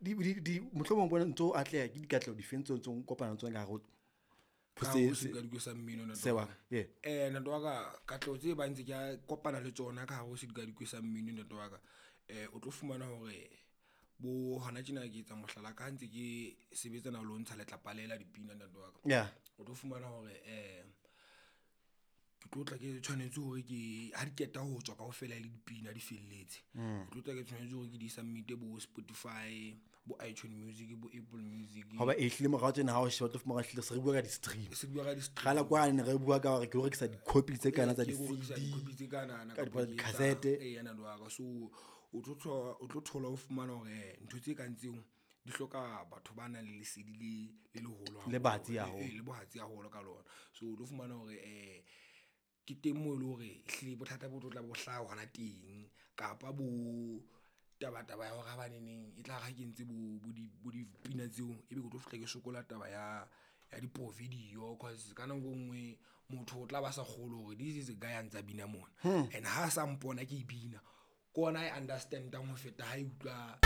Di mohlomong bona ntso atleha ke dikatleho difeng tseo ntso kopana le tsona ka hare ho Ka se- hare ho sedikadikwe sa mmino ntate sewa wa ka. yeah. Ntate wa ka, katleho tse bang ntse ke kopana le tsona ka hare ho sedikadikwe sa mmino ntate wa ka. O tlo fumana hore bo hona tjena ke etsa mohlala ka ha ntse ke sebetsana le ho ntsha letlapa le la dipina ntate wa ka. Yeah. O tlo fumana hore ke tlo tla ke tshwanetse hore ke ha di qeta ho tswa kaofela le dipina di felletse. Ke tlo tla ke tshwanetse hore ke di submit-e bo Spotify, bo iTunes Music, bo Apple Music. Hoba e hlile morao tjena ha o sheba o tlo fumana hlile se re bua ka di-stream. Se bua ka di-stream. Kgale kwane ne re bua ka hore ke lo rekisa di-copy tse kana tsa Ke lo rekisa di-CD, di-copy tse kanana ka kapa ke etsa- di-cassette. Eya ntate wa ka. So o tlo thola, o tlo thola o fumana hore ntho tse kang tseo di hloka batho ba nang le lesedi le leholo Le batsi haholo. haholo. Le bohatsi haholo ka lona. So o tlo fumana hore ke teng moo eleng hore ehlile bothata bo tlo tla bo hlaha hona teng. Kapa bo tabataba ya hore habaneneng e tlare ha ke entse bo dipina tseo, ebe ke tlo fihla ke sokola taba ya di-video cause ka nako e nngwe motho o tla ba sa kgolwe hore this is a guy a ntsa bina mona. And ha sa mpona ke bina, ke ona a e understand-ang ho feta ha e utlwa.